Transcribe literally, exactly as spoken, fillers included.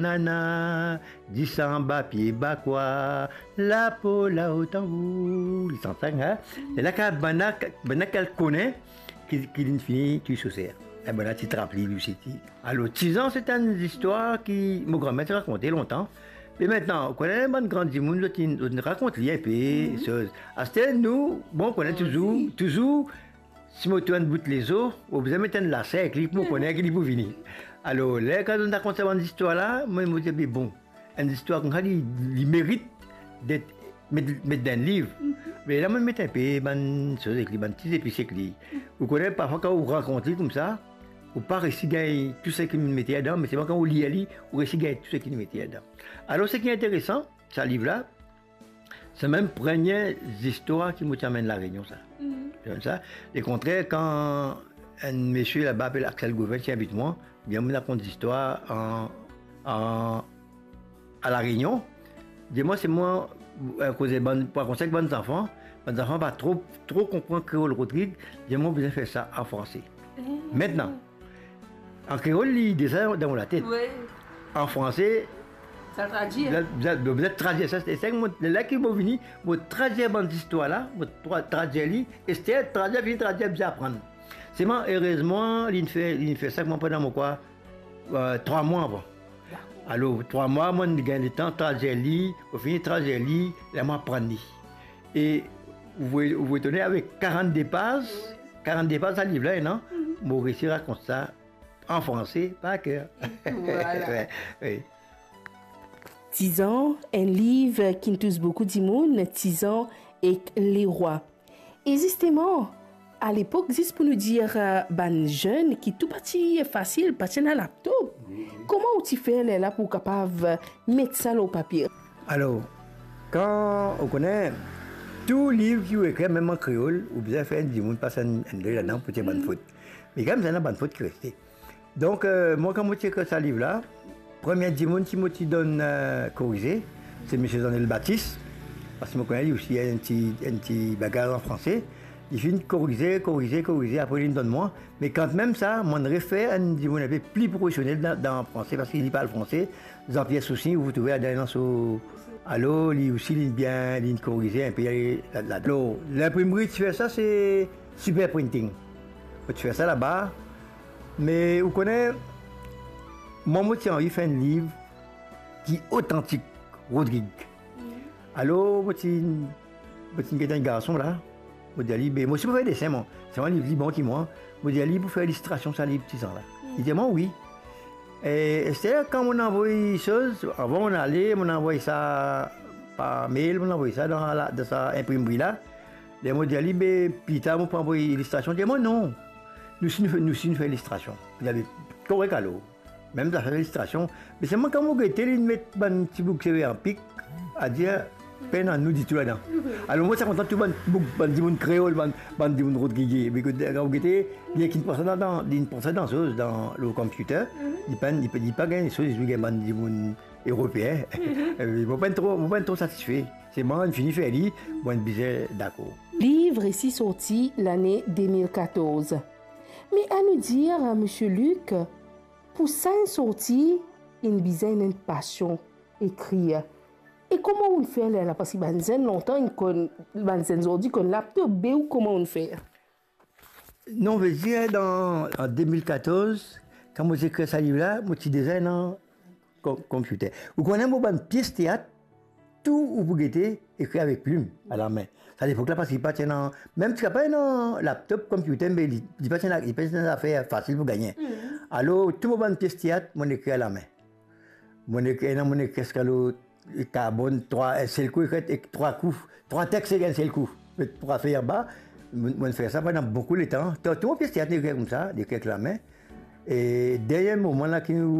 Nana, disan ba pie ba kwa, lapo lao tanbou. Li sant sa, hein? E la, kan bann la, bann la ki al kone ki, ki linn fini touy sorser. E bann la ti trap li, li osi ti. Alor, Tizan, se enn zistwar ki mo granmem ti rakonte lontan. Me aster, ou kone bann gran dimoun, zot inn, zot inn rakont li inpe, soz. Aster, nou, bon, ou kone touzour, touzour, si mo trouv enn bout lezo, mo bizin met enn lase ek li pou mo kone ki li pou vini. Alor, ler kan zot rakont sa bann zistwar la, mwa, mo dir, be bon, enn zistwar koumsa, li, li merit det met, met dan enn liv. Me la, mo met inpe bann soz ek li, bann ti zepis ek li. Ou kone, parfwa, kan ou rakont li koumsa, ou pa resi gagn tou seki li mete ladan, me selman kan ou lir li, ou resi gagn tou seki li mete ladan. Alor, seki interesan, sa liv la, se mem premie zistwar ki mo ti amenn La Rényon, sa. Sa. Lekontrer, kan enn misie laba apel Axel Gouvin ti invit mwa, bien, mo rakont zistwar an, an, a La Rényon. Dir mwa, se mwa, eh, koze bann, pou rakont sa ek bann zanfan, bann zanfan pa tro, tro konpran kreol Rodrig, dir mwa, bizin fer sa an franse. Aster, an kreol, li deza dan mo latet. Wi. An franse, sa tradwir. Bizin, bizin, bizin tradwir sa, se, se mo, ler ki mo vini, mo tradwir bann zistwar la, mo tra-, tradwir li, aster tradwir, fini tradwir, bizin aprann. Selman, erezman, linn fer, linn fer sa, mwa, pandan mo, kwa, eh, trwa mwa avan. Alor, trwa mwa, mo gagn letan tradwir li, mo fini tradwir li, la mo aprann li. E ou, ou etone, avek karannde paz, karannde paz sa liv la, non? Mo resi rakont sa an franse par ker. Vwala. Wi, wi. Tizan, enn liv ki tous boukou dimoun, Tizan ek Lerwa. E zisteman, alepok, zis pou nou dir, eh, bann zenn ki tou pa ti fasil, pa ti ena laptop. Wi, wi. Kouma ou ti fer lerla pou kapav met sa lor papie? Alor, kan ou kone, tou liv ki ou ekrir, mem an kreol, ou bizin fer dimoun pas enn, enn dwet ladan pou tir bann fot. Me kan mem, ena bann fot ki reste. Donk, eh, mwa, kan mo ti ekrir sa liv la, premie dimoun ki mo ti donn, eh, korize, se misie Zanel Batis, parski mo kone li osi enn ti, enn ti bagay an franse. Li finn korize, korize, korize, apre linn donn mwa. Me kanmem sa, mo'nn refer enn dimoun inpe pli profesionel dan, dan franse, parski li parl franse, Jean-Pierre Soussigny, ou trouve ladan so, alor, li osi, linn bien, linn korize inpe la, la, la. Alor, linprimri ti fer sa, se Super Printing. Mo ti fer sa laba. Me ou kone, mwa, mo ti anvi fer enn liv ki otantik Rodrig. Alor, mo ti, mo ti get enn garson la. Mo dir li, be, mo osi mo fer desin, mwa. Selman li, li bon ki mwa. Mo dir li pou fer ilistrasion sa liv Tizan la. Li dir mwa wi. E, aster, kan mo'nn anvoy soz, avan mo'nn ale, mo'nn anvoy sa par mail, mo'nn anvoy sa dan la, dan sa inprimri la. Ler mo dir li, be, pli tar mo pou anvoy ilistrasion, li dir mwa non. Nou osi nou fer, nou osi nou fer ilistrasion. Li dir, be, korek alor. Mem zafer ilistrasion. Me selman kan mo gete, linn met bann ti boug seve an pik, adir, pena nou ditou ladan. Alor, mo ti kontan tou bann boug, bann dimoun kreol, bann, bann dimoun Rodrig. Me kan mo gete, li ena ki pran sa dan, dan, li pran sa dan soz, dan le computer. Li pa, li pa, li pa gagn soz, li gagn bann dimoun Eropeen. E mo pa tro, mo pa tro satisfe. Selman, mo'nn fini fer li, mo'nn bizin dakor. Liv resi sorti lane de mil katorz. Me anou dir, misie Luc, pou sa enn sorti, inn bizin enn pasion ekrir. E kouma ou'nn fer lerla? Parski bann zenn lontan, inn konn, bann zenn zordi konn laptop, be ou kouma ou'nn fer? Non, vedir, dan, an de mil katorz, kan mo ti ekrir sa liv la, mo ti deza ena kom-, computer. Ou kone mo bann pies teat, tou ou pou gete, ekrir avek plim, alame. Sa lepok la, parski pa ti ena, mem ti pa ena laptop, computer, me li, li pa ti ena, li pa ti ena zafer fasil pou gagne. Alor, tou mo bann pies teat, mo'nn ekrir alame. Mo'nn ekrir, ena mo'nn ekrir Escalot, Carbonne, trwa, enn sel kou, ekrir ek trwa kou, trwa tex ek enn sel kou. Met trwa fey anba, mo, mo'nn fer sa pandan boukou letan. Tou, tou mo pies teat, mo'nn ekrir koumsa, mo'nn ekrir ek lame. E dernie moman la ki nou